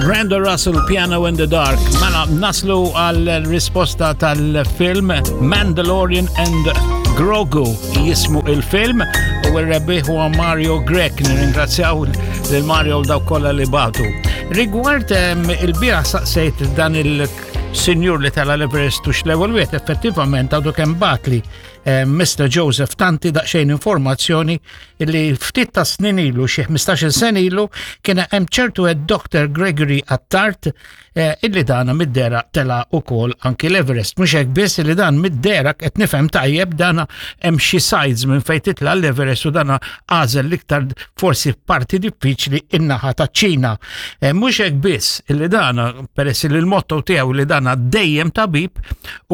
Brenda Russell, Piano in the Dark. Mela, naslu għal risposta tal-film Mandalorian and Grogu jismu il-film u r-rebbieħ huwa Mario Grech. Nirringrazzjaw lil Mario u dawk kollha li batu. Rigward il-bieraħ saqsejt dan il-sinjur li tala l-Everest u x'l-ewwel wieħed effettivament għadu kemm batli Mr. Joseph Tanti daqsxejn informazzjoni li ftit ta' snin ilu, xi 15-il sena ilu, kien hemm ċertu Dr. Gregory Attard eh, illi dana mid-dera tela ukoll anki l-Everest. Mhux hekk biss illi dan mid-dera qed nifhem tajjeb dana hemm xi sides minn fejn titla' l-Everest u dana għażel l-iktar forsi parti diffiċli in-naħa taċ-Ċina. Eh, mhux hekk biss illi dana peress li l-motto tiegħu li dana dejjem tabib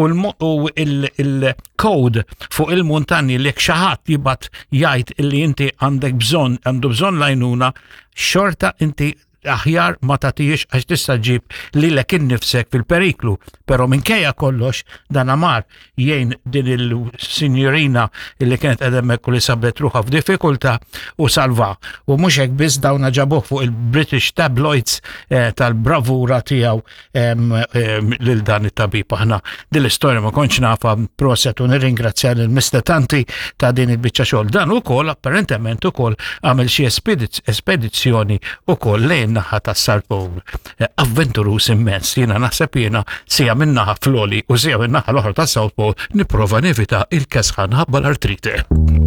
u il-code fuq il-muntanji li xi ħadd jibgħat jgħid illi inti għandek bżonn għandu bżonn lajnuna, xorta inti aħjar ma tagħtijiex għax tista' ġib lilek innifsek fil-periklu. Però minkejja kollox dan amar jgħin din il-sinjorina illi kienet qed hemmhekk u li sabet ruħha f'diffikultà u salva. U mhux hekk biss dawn ġabuh fuq il-British tabloids eh, tal-bravura tiegħu lil dan it-tabib. Aħna din l-istorja ma kontx nafa proset u nirringrazzja lil Mr. Tanti ta' din il-biċċa xogħol. Dan ukoll apparentement ukoll għamel xi espedizzjoni ukoll lejn naħa tas-South Pole. Eh, avventurus immens, jiena naħseb jiena sija minn naħa floli u sija minn naħa l-oħra tas-South Pole nipprova nevita il-kesħan ħabba l-artrite.